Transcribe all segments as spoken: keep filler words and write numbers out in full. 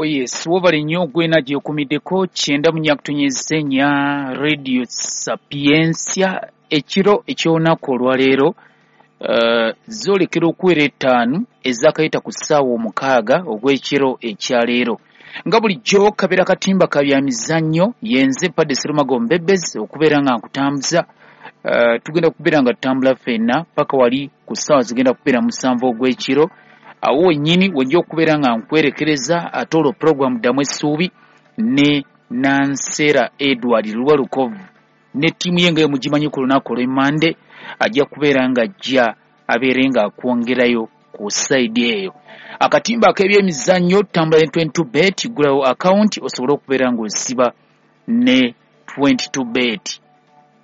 Yes, wobale nnyo gwena gyekumiddeko kyenda mu nyakutunyeze nya Radio Sapientia ekiro eky'olunaku olwaleero uh, zoolekera okuwera ettaano ezakayita ku ssaawa omukaaga ogw'ekiro ekyaleero. Nga bulijjo kabeera katimba ka bya mizannyo, yenze Padde Serumago Mbebezi okubeera nga nkutambuza. Uh, tugenda kubeera nga tutambula ffenna paka wali ku ssaawa zigenda kubeera musanvu ogw'ekiro. Awo wennyini wenja okubeera nga nkwerekereza ate olwo puroguramu Ddamu Essuubi ne Nansera Edward Lwalukovu ne ttiimu ye nga emugimanyi ku lunaku olw'Emmande ajja kubeera nga ajja abeere ng'akwongerayo ku sayidi eyo. Akatimba ak'ebyemizannyo tutambula ne twenty two bet, ggulawo akawunti osobole okubeera ng'osiba ne twenty two bet.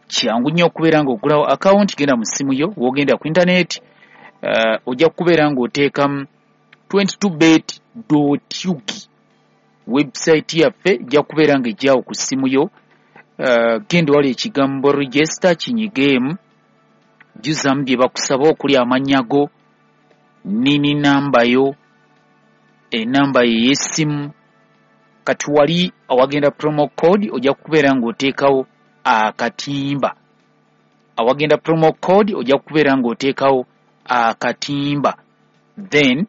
Kyangu nnyo okubeera ng'oggulawo akawunti, genda mu ssimu yo, w'ogenda ku intaneti Uh, ojja kubeera ng'oteekamu twenty two bet dot ug website yaffe ejja kubeera ng'ejjawo ku ssimu yo. Uh, genda wali ekigambo register kinyigeemu, jjuzamu bye bakusaba okuli amannya go, nini namba yo, enamba yo ey'essimu. Kati wali awagenda promo code ojja kubeera ng'oteekawo akatimba. Awagenda promo code ojja kubeera ng'oteekawo akatimba, then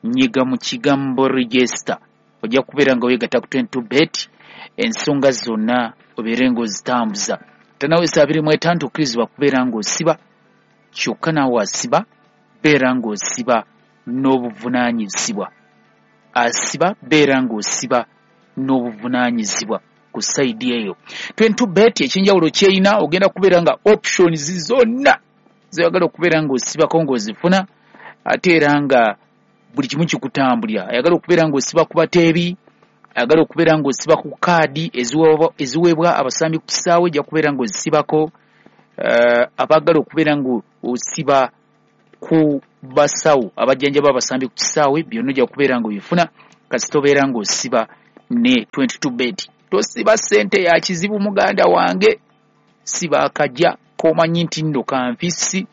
nyiga mu kigambo register, ojja kubeera nga weegatta ku twenty two bet, ensonga zonna obeere ng'ozitambuza. Tanawesa abiri mu etaano tokkirizibwa kubeera ng'osiba, kyokka naawe asiba beera ng'osiba n'obuvunaanyizibwa. Asiba beera ng'osiba n'obuvunaanyizibwa ku sayidi eyo. twenty two bet ekyenjawulo kyerina ogenda kubeera nga options zonna zoyagala okubeera ng'osibako ng'ozifuna, ate era nga buli kimu kikutambulira. Ayagala okubeera ng'osiba ku bateebi, ayagala okubeera ng'osiba ku kaadi eziweebwa abasambi ku kisaawe, ojja kubeera ng'ozisibako. Uh, abaagala okubeera ng'osiba ku basawo abajjanjaba abasambi ku kisaawe, byonna ojja kubeera ng'obifuna kasita obeera ng'osiba ne twenty two bet. Tosiba ssente ya kizibu muganda wange, siba akajja k'omanyi nti nno kanfisi,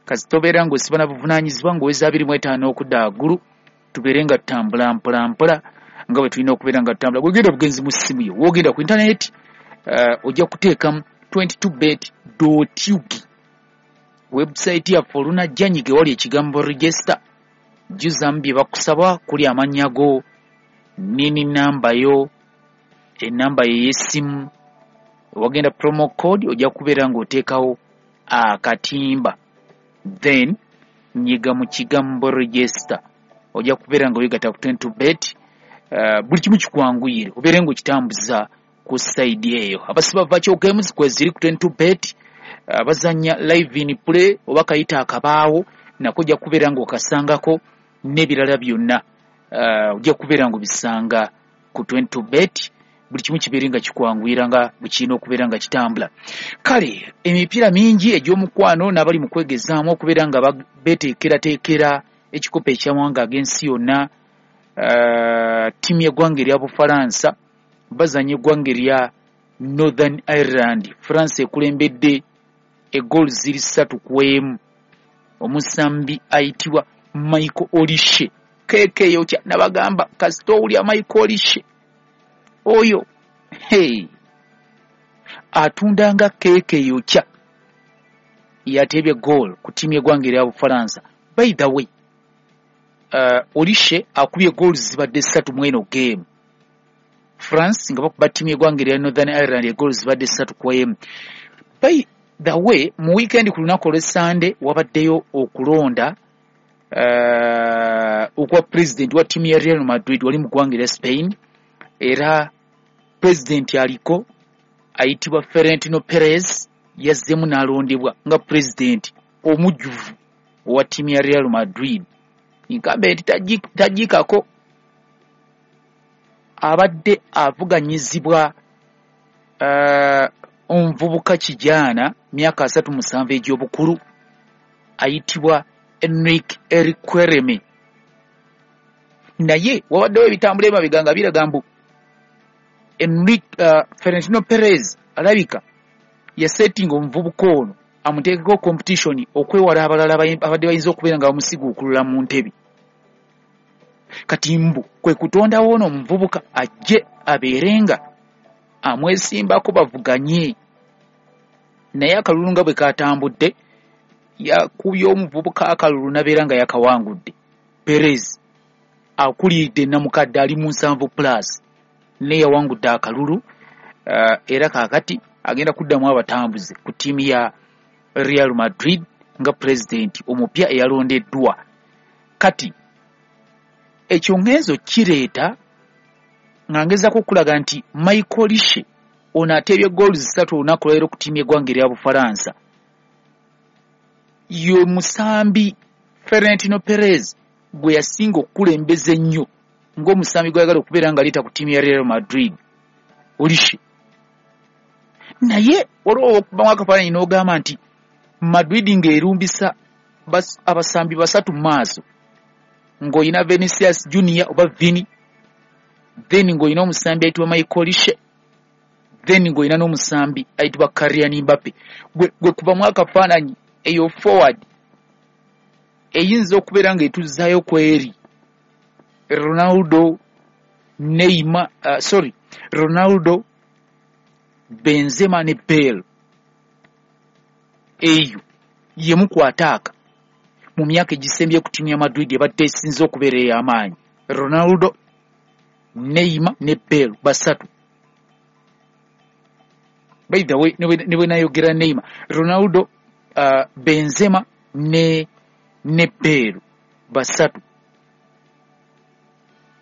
kasita obeera ng'osiba na buvunaanyizibwa ng'oweza abiri mu etaano okudda waggulu, tubeere nga tutambula mpola mpola nga bwe tulina okubeera nga tutambula. Bw'ogenda bugenzi mu ssimu yo, w'ogenda ku intaneti, uh, ojja kuteekamu twenty two bet dot ug website yaffe olunajja nyige wali ekigambo register, jjuzamu bye bakusaba kuli amannya go, nini namba yo, enamba yo ey'essimu. Wagenda promo code ojja kubeera ng'oteekawo akatimba, then nyiga mu kigambo register, ojja kubeera nga weegatta ku twenty two bet. Uh, buli kimu kikwanguyire obeere ng'okitambuza ku sayidi eyo. Abasiba virtual games kweziri ku twenty two bet, abazannya uh, live in play oba kayita akabaawo nako ojja kubeera ng'okasangako n'ebirala byonna, uh, ojja kubeera ng'obisanga ku twenty two bet. Buli kimu kibeere nga kikwanguyira nga bwe kirina okubeera nga kitambula. Kale emipiira mingi egy'omukwano n'abali mu kwegezaamu okubeera nga beeteekerateekera ekikopo eky'amawanga ag'ensi yonna. Uh, ttiimu y'eggwanga erya Bufalansa bazannya eggwanga erya Northern Ireland. France ekulembedde eggoolo ziri ssatu ku emu. Omusambi ayitibwa Michael Olise keeke eyokya, nabagamba kasita owulya Michael Olise oyo hey, atunda nga keeke eyokya, yateebye goal ku ttiimu y'eggwanga erya Bufalansa. By the way, uh, Olise akubye goal zibadde ssatu mu eno game. France nga bakuba ttiimu y'eggwanga erya Northern Ireland egoolo zibadde ssatu ku emu. By the way, mu weekend ku lunaku olw'Essande wabaddeyo okulonda uh, okwa president wa ttiimu ya Real Madrid wali mu ggwanga erya Spain, era president aliko ayitibwa Florentino Perez yazzeemu n'alondebwa nga president omujjuvu owa ttiimu ya Real Madrid. Incumbent tagiikako, abadde avuganyizibwa uh, omuvubuka kijaana myaka asatu musanvu egy'obukulu ayitibwa Enrique Riquelme. Naye wabaddewo ebitambula emabega nga biraga mbu Enrique uh, Florentino Perez alabika yasettinga omuvubuka ono amuteekeko competition okwewala abalala abadde bayinza okubeera nga bamusiguukulula mu ntebe. Kati mbu kwe kutondawo ono omuvubuka ajje abeerenga amwesimbako bavuganye. Naye akalulu nga bwe katambudde, yakubye omuvubuka akalulu n'abeera nga yakawangudde. Perez akuliridde namukadde ali mu nsanvu plus, naye yawangudde akalulu, uh, era kaakati agenda kuddamu abatambuze ku ttiimu ya Real Madrid nga pulezidenti omupya eyalondeddwa. Kati ekyo ngenzo kireeta nga ngezaako okulaga nti Michael Olise ono ateebye goals ssatu olunaku lwaleero ku ttiimu y'eggwanga erya Bufalansa, ye musambi Florentino Perez gwe yasinga okukulembeza ennyo ng'omusambi gw'ayagala okubeera ng'aleeta ku ttiimu ya Real Madrid, Olise. Naye waliwo okubamu akafaananyi n'ogamba nti Madrid ng'erumbisa abasambi basatu mu maaso, ng'olina Vinicius Junior oba Vini, then ng'olina omusambi ayitibwa Michael Olise, then ng'olina n'omusambi ayitibwa Kylian Mbappe. Gwe, gwe kubamu akafaananyi eyo forward eyinza okubeera ng'etuzzaayo ku eri Ronaldo, Neymar, uh, sorry, Ronaldo, Benzema ne Bale. Eyo yemu ku ataaka mu myaka egisembye ku ttiimu ya Madrid ebadde esinze okubeera ey'amaanyi. Ronaldo, Neymar ne Bale basatu. By the way, ne bwe nayogera Neymar, Ronaldo, uh, Benzema ne ne Bale basatu.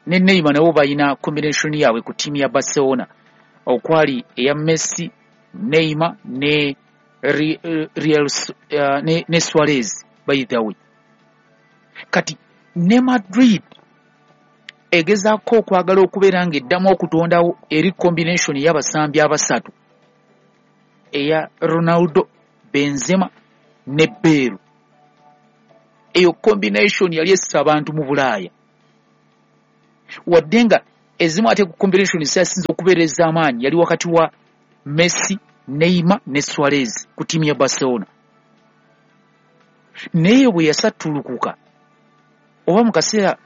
Ne Neymar nabo balina combination yaabwe ku ttiimu ya Barcelona, okwali eya Messi, Neymar ne Real, uh, ne, ne Suarez. By the way, kati ne Madrid egezaako okwagala okubeera ng'eddamu okutondawo eri combination y'abasambi abasatu eya Ronaldo, Benzema ne Bale. Eyo combination yali essa abantu mu Bulaaya, wadde nga ezimu ate ku combination ezisinze okubeera ez'amaanyi yali wakati wa Messi, Neymar ne Suarez ku ttiimu ya Barcelona. Naye bwe yasattulukuka oba mu kaseera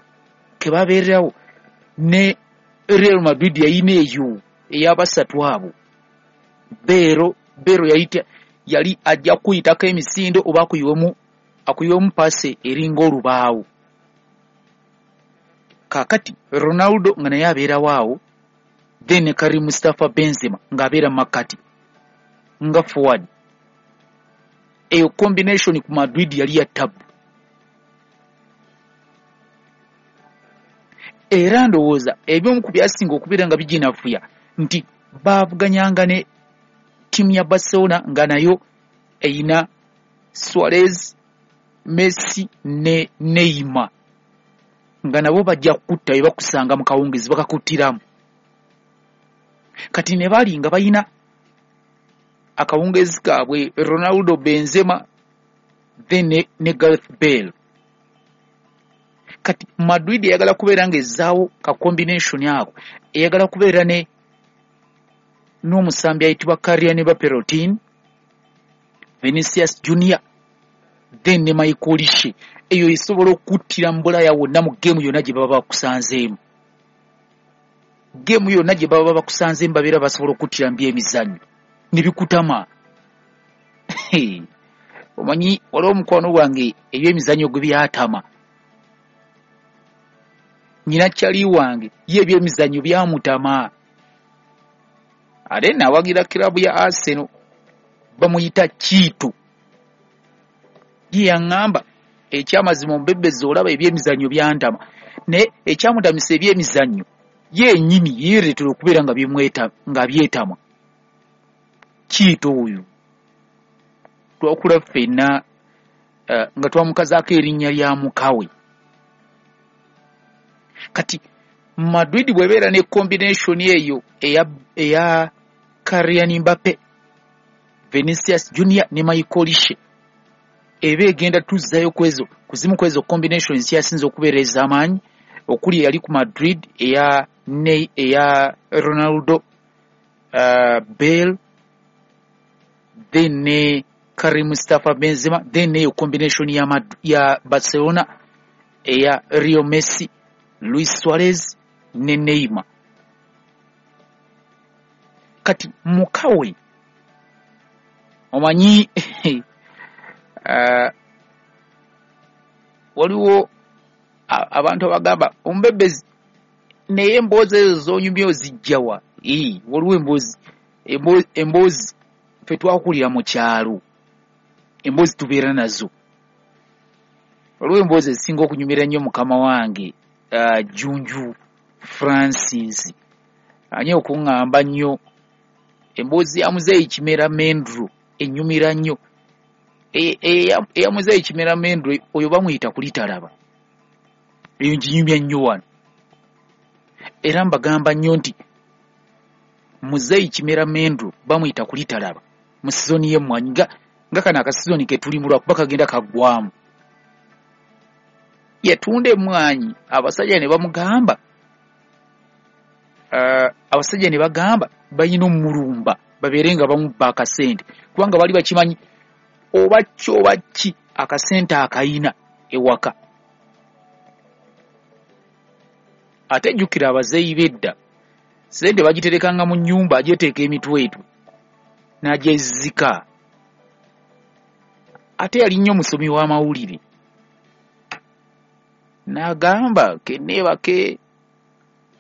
ke babeererawo ne Real Madrid yayina eyo ey'abasatu abo. Bale Bale yali yali ajja kuyitako emisindo oba akuyiwemu akuyiwemu paase eringa olubaawo. Kaakati Ronaldo nga naye abeerawo awo, then ne Karim Mustafa Benzema ng'abeera mu makkati nga forward. Eyo combination ku Madrid yali ya ttabu. Era ndowooza ebimu ku byasinga okubeera nga biginafuya nti baavuganyanga ne ttiimu ya Barcelona nga nayo eyina Suarez, Messi ne Neymar, nga nabo bajja kukutta bye bakusanga mu kawungezi bakakuttiramu. Kati ne bali nga balina akawungezi kaabwe Ronaldo, Benzema then ne, ne Gareth Bale. Kati Madrid eyagala kubeera ng'ezzaawo ka combination ako, eyagala kubeera ne n'omusambi ayitibwa Kylian Mbappe, Vinicius Junior, then ne Michael Olise. Eyo esobola okuttira mu Bulaaya wonna mu geemu yonna gye baba bakusanzeemu. Geemu yonna gye baba bakusanzeemu babeera basobola okuttira mu byemizannyo ne bikutama. Omanyi waliwo omukwano gwange ebyemizannyo gwe byatama. Nnyina kyali wange ye ebyemizannyo byamutama. Ate nawagira kiraabu ya Arsenal, bamuyita Kiito. Ye yaŋŋamba ekyamazima ombebezi olaba ebyemizannyo byantama, naye ekyamutamisa ebyemizannyo ye nnyini yeereetera okubeera nga byemweta nga byetama. Kiito oyo twakula ffenna uh, nga twamukazaako erinnya lya mukawe. Kati Madrid bw'ebeera ne combination eyo eya, eya Kylian Mbappe, Vinicius Junior ne Michael Olise, eba egenda tuzzayo kwezo kuzimu kwezo combination zikyasinze okubeera ez'amaanyi, okuli eyali ku Madrid eya ne eya Ronaldo, uh, Bale, then ne Karim Mustafa Benzema, then neyo combination ya, Mad ya Barcelona eya Leo Messi, Luis Suarez ne Neymar. Kati mukawe omanyi uh, waliwo abantu abagamba ombebezi naye emboozi ezo z'onyumya ozijjawa. Ee, waliwo emboozi emboozi ffe twakulira mu kyalo, emboozi tubeera nazo. Waliwo emboozi ezisinga okunyumira ennyo mukama wange uh, Junju Francis ani okuŋŋamba nnyo emboozi ya Muzeeyi Kimera Mendro ennyumira nnyo. Eya Muzeeyi Kimera Mendro oyo bamuyita kulitalaba, eyo nginyumya nnyo wano. Era mbagamba nnyo nti Muzeeyi Kimera Mendro bamuyita kulitalaba mu sizoni y'emmwanyi, nga nga kano akasizoni ke tulimu lwakuba kagenda kaggwamu. Yatunda emmwanyi abasajja ne bamugamba uh, abasajja ne bagamba balina omulumba babeere nga bamubba akasente, kubanga bali bakimanyi oba ki oba ki akasente akayina ewaka. Ate jjukira abazeeyi b'edda sente bagiterekanga mu nnyumba, agyeteeka emitwetwe n'agyezika. Ate yali nnyo musomi w'amawulire, n'agamba kenneebake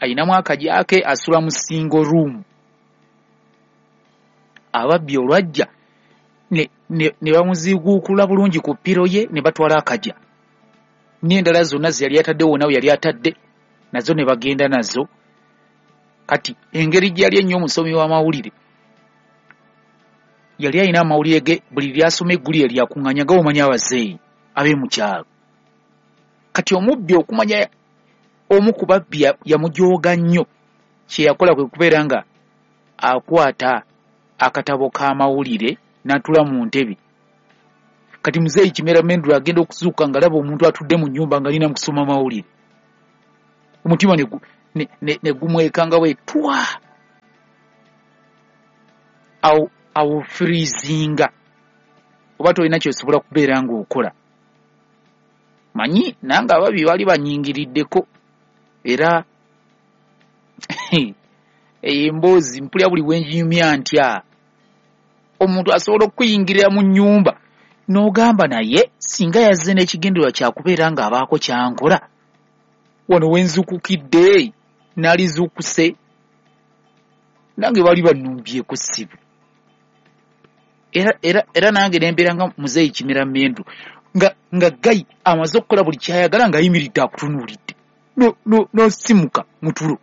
ayinamu akajja ke asula mu single room. Ababbi olwajja ne, ne, ne bamuziguukula bulungi ku ppiro ye ne batwala akajja n'endala zonna ze yali atadde wonna we yali atadde nazo ne bagenda nazo. Kati engeri gye yali ennyo omusomi w'amawulire, yali alina amawulire ge buli lyasoma eggulire lyakuŋŋaanya nga bw'omanyi abazeeyi ab'e kyalo. Kati omubbi okumanya omu ku babbi yamujooga nnyo, kye yakola kwe kubeera nga akwata akatabo k'amawulire n'atula mu ntebe. Kati Muzeeyi Kimera Mendro agenda okuzuuka ng'alaba omuntu atudde mu nnyumba ng'alina mu kusoma mawulire, omutima ne, ne, ne, ne gumwekanga bwe twa awo awo freezinga, oba tolina ky'osobola kubeera ng'okola. Manyi nange ababi baali banyingiriddeko, era eyo emboozi mpulira buli bwe nginyumya ntya. Omuntu asobola okuyingirira mu nnyumba n'ogamba naye singa yazze n'ekigendererwa kyakubeera ng'abaako kyankola, wano we nzuukukidde naalizuukuse nange baali bannumbyeko ssibu. Era, era, era nange ne mbeera nga Muzeeyi Kimera Mendro nga, nga gayi amaze okukola buli kyayagala ng'ayimiridde akutunuulidde n'osimuka no, mu tulo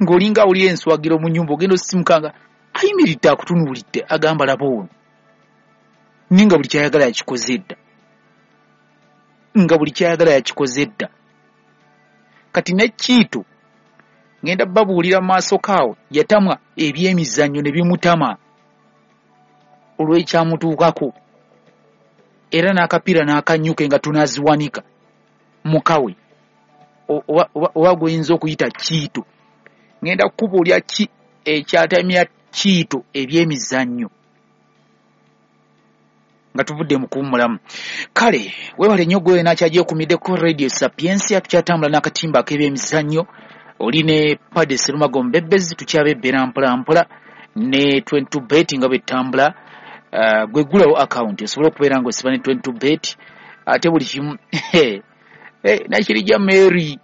ng'olinga awulira enswagiro mu nnyumba, ogenda osimuka nga ayimiridde akutunuulidde agamba laba ono, naye nga buli kyayagala yakikoze dda, nga buli kyayagala yakikoze dda. Kati ne Kiito ngenda babuulira mu maaso kaawo, yatamwa ebyemizannyo ne bimutama olw'ekyamutuukako, era n'akapiira n'akanyuke nga tunaaziwanika mukawe oba, oba, oba gw'oyinza okuyita Kiito. Ngenda kukubuulira ki ekyatamya Kiito ebyemizannyo nga tuvudde mu kuwummulamu. Kale weebale nnyo gwe n'akyagyeekumiddeko Radio Sapientia, tukyatambula n'akatimba ak'ebyemizannyo. Oli ne Pade Serumago Mbebezi, tukyabebbera mpola mpola ne twenty-two bet nga bwetambula. Uh, gwe ggulawo account osobola okubeera ng'osiba ne twenty-two bet, ate buli kimu eh, Nakirijja Mary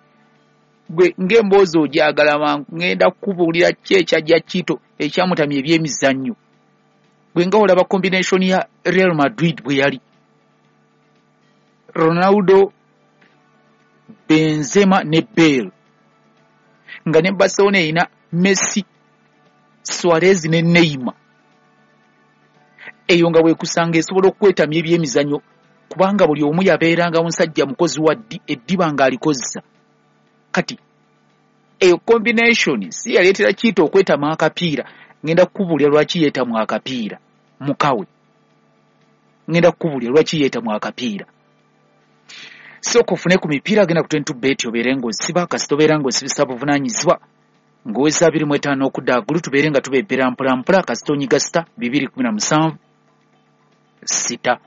gwe ng'emboozi ogyagala mangu, ngenda kukubuulira ki ekyajja Kiito ekyamutamya ebyemizannyo. Gwe nga olaba combination ya Real Madrid bwe yali Ronaldo, Benzema ne Bale, nga ne Barcelona erina Messi, Suarez ne Neymar. Eyo nga bwekusanga esobola okwetamya ebyemizannyo, kubanga buli omu yabeeranga musajja mukozi wa ddi eddiba ng'alikozesa. Kati eyo combination si yaleetera Kiito okwetama akapiira. Ngenda kukubuulira lwaki yeetamwa akapiira mukawe, ngenda kukubuulira lwaki yeetamwa akapiira. Sooka ofune ku mipiira, genda ku twenty-two bet obeere ng'osiba, kasita obeera ng'osibisa buvunaanyizibwa ng'oweza abiri mu etaano okudda waggulu, tubeere nga tubebbera mpola mpola. Kasita onyiga sita bibiri kumi na musanvu sita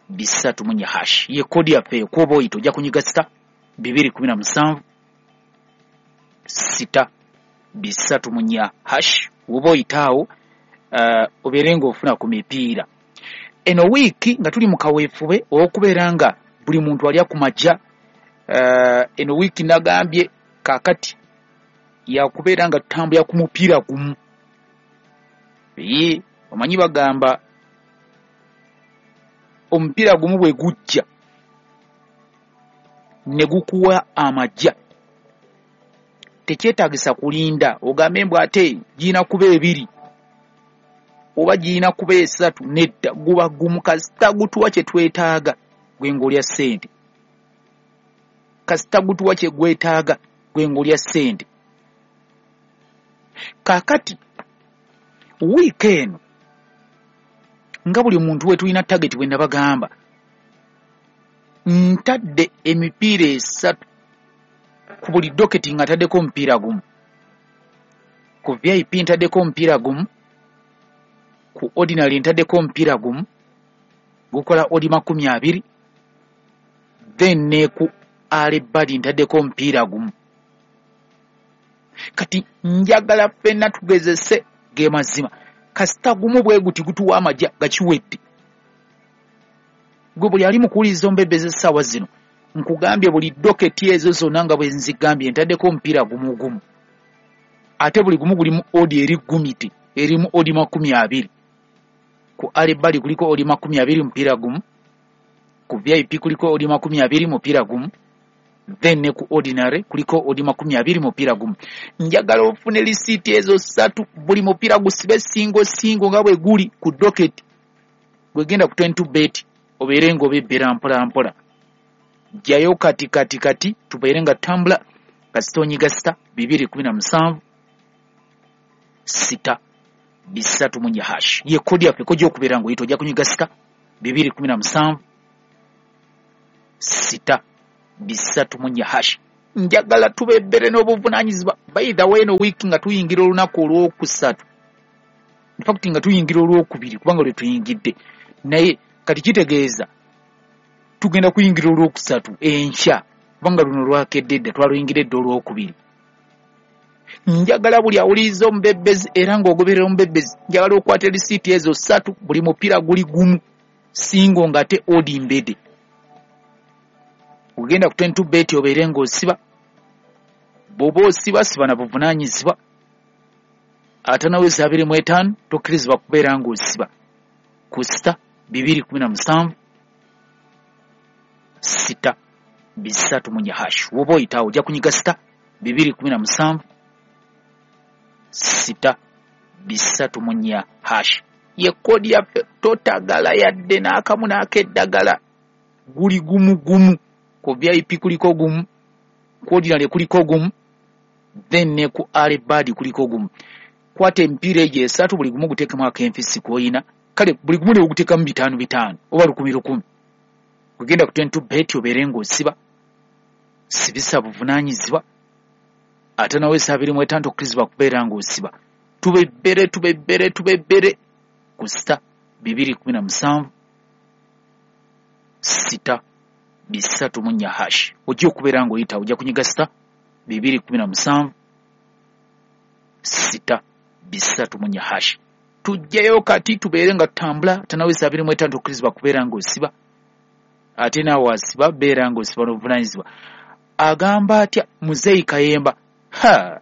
bisatu mu nnya hash ye kodi yaffe ekwoba oyita ojja kunyiga sita bibiri kumi na musanvu sita bisatu munya hash. Woba oyitaawo uh, obeere ng'ofuna ku mipiira. Eno wiiki nga tuli mu kaweefube ow'okubeera nga buli muntu alya ku majja. Uh, eno wiiki nagambye kaakati yakubeera nga tutambulira ku mupiira gumu. Ye omanyi bagamba omupiira gumu bwe gujja ne gukuwa amajja, tekyetaagisa kulinda ogambe mbu ate girina kuba ebiri oba girina kuba esatu. Nedda, guba gumu. Kasita gutuwa kye twetaaga gwe ng'olya ssente, kasita gutuwa kye gwetaaga gwe ng'olya ssente. Kaakati wiiki eno nga buli muntu we tulina target, bwe nabagamba ntadde emipiira esatu ku buli doketi, nga ntaddeko omupiira gumu ku V I P, ntaddeko omupiira gumu ku ordinary, ntaddeko omupiira gumu gukola odi makumi abiri, then ne ku alebadi ntaddeko omupiira gumu. Kati njagala ffenna tugezese ge mazima, kasita gumu bwe guti gutuwa amajja gakiwedde. Gwe buli ali mu kuwuliriza ombebeza essaawa zino, nkugambye buli doketi ezo zonna nga bwe nzigambye ntaddeko omupiira gumu gumu, ate buli gumu gulimu odi eri gumiti erimu odi makumi abiri. Ku alebali kuliko odi makumi abiri mupiira gumu, ku V I P kuliko odi makumi abiri mupiira gumu, then ne ku ordinary kuliko odi makumi abiri mupiira gumu. Njagala ofune lisiiti ezo ssatu, buli mupiira gusibe singo singo nga bwe guli ku doketi. Gwegenda ku twenty-two bet obeere ng'obebbera mpola mpola. Jjayo kati kati kati tubeere nga tutambula. Kasita onyiga sita bibiri kumi na musanvu sita bisatu munya hash. Ye kodi yaffe kojja okubeera ng'oyita, ojja kunyiga sita bibiri kumi na musanvu sita bisatu munya hash. Njagala tubebbere n'obuvunaanyizibwa. By the way, eno wiiki nga tuyingira olunaku olwokusatu, in fact nga tuyingira olwokubiri kubanga lwe tuyingidde, naye kati kitegeeza tugenda kuyingira olwokusatu enkya kubanga luno lwakedde dda, twaluyingira edda olwokubiri. Njagala buli awuliriza omubebbezi era ng'ogoberera omubebbezi, njagala okwata risiiti ezo ssatu, buli mupiira guli gumu singo ng'ate odi mbede. Ogenda ku twenty-two bet obeere ng'osiba, bw'oba osiba siba na buvunaanyizibwa. Ataano abiri mu etaano tokkirizibwa kubeera ng'osiba ku sita bibiri kumi na musanvu sita bisatu munya hash. Woba oyitaawo ojja kunyiga sita bibiri kumi na musanvu sita bisatu munya hash. Ye kodi yaffe, totagala yadde n'akamu n'akeddagala, guli gumu gumu. Ku V I P kuliko gumu, ku ordinary kuliko gumu, then ne ku alebadi kuliko gumu. Kwata emipiira egyo esatu, buli gumu guteekemu akenfisi k'oyina, kale buli gumu ne guteekamu bitaano bitaano oba lukumi lukumi. Ogenda ku twenty-two bet obeere ng'osiba, sibisa buvunaanyizibwa. Ate nawe abiri mu etaano tokkirizibwa kubeera ng'osiba. Tubebbere tubebbere tubebbere ku sita bibiri kumi na musanvu sita bisatu munya hash. Ojja okubeera ng'oyita, ojja kunyiga sita bibiri kumi na musanvu sita bisatu munya hash. Tujjayo kati tubeere nga tutambula. Ate abiri mu etaano tokkirizibwa kubeera ng'osiba, ate naawe asiba beera ng'osiba n'obuvunaanyizibwa. Agamba atya Muzeeyi Kayemba? Ha,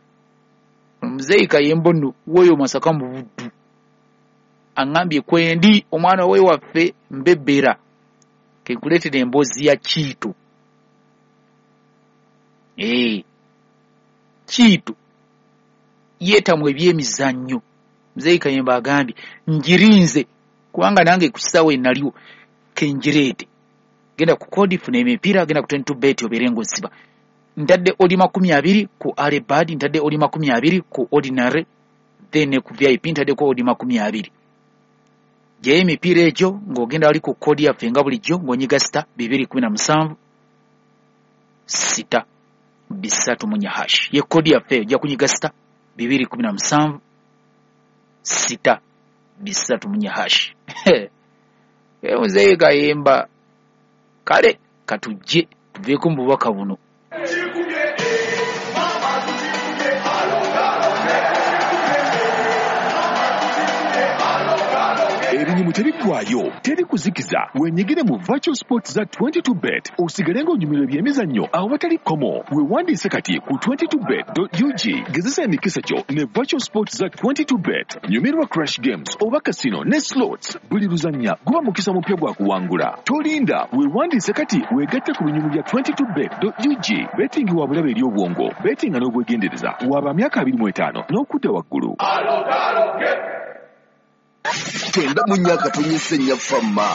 Muzeeyi Kayemba nno w'oyo Masaka mu Buddu, aŋŋambye kwendi omwana we waffe mbebbera, kenkuleetera emboozi ya Kiito. Ee, Kiito yeetamwa ebyemizannyo. Muzeeyi Kayemba agambye ngirinze kubanga nange ku kisaawe naliwo, kengireete. Genda ku kodi funa emipiira, genda ku twenty-two bet obeere ng'osiba. Ntadde odi makumi abiri ku alebadi, ntadde odi makumi abiri ku ordinary, then ne ku V I P ntaddeko odi makumi abiri. Gyeyo emipiira egyo ng'ogenda wali ku kodi yaffe nga bulijjo ng'onyiga sita bibiri kumi na musanvu sita bisatu munya hash. Ye kodi yaffe ojja kunyiga sita bibiri kumi na musanvu sita bisatu munya hash. Muzeeyi Kayemba, kale katujje tuveeko mu bubaka buno. Ebinyumu tebiggwaayo, teri kuzikiza. Wenyigire mu virtual sports za twenty-two bet osigale ng'onyumirwa ebyemizannyo awatali kkomo. Weewandiise kati ku twenty-two bet dot U G. Gezesa emikisa gyo ne virtual sports za twenty-two bet. Nyumirwa crash games oba casino ne slots. Buli luzannya guba mukisa mupya gwa kuwangula. Tolinda, weewandiise kati weegatte ku binyumu bya twenty-two bet dot U G. Betting wa bulabe eri obwongo. Bettinga n'obwegendereza. Waba myaka abiri mu etaano n'okudda waggulu. Tenda mu myaka tonyese nnyaffa mma.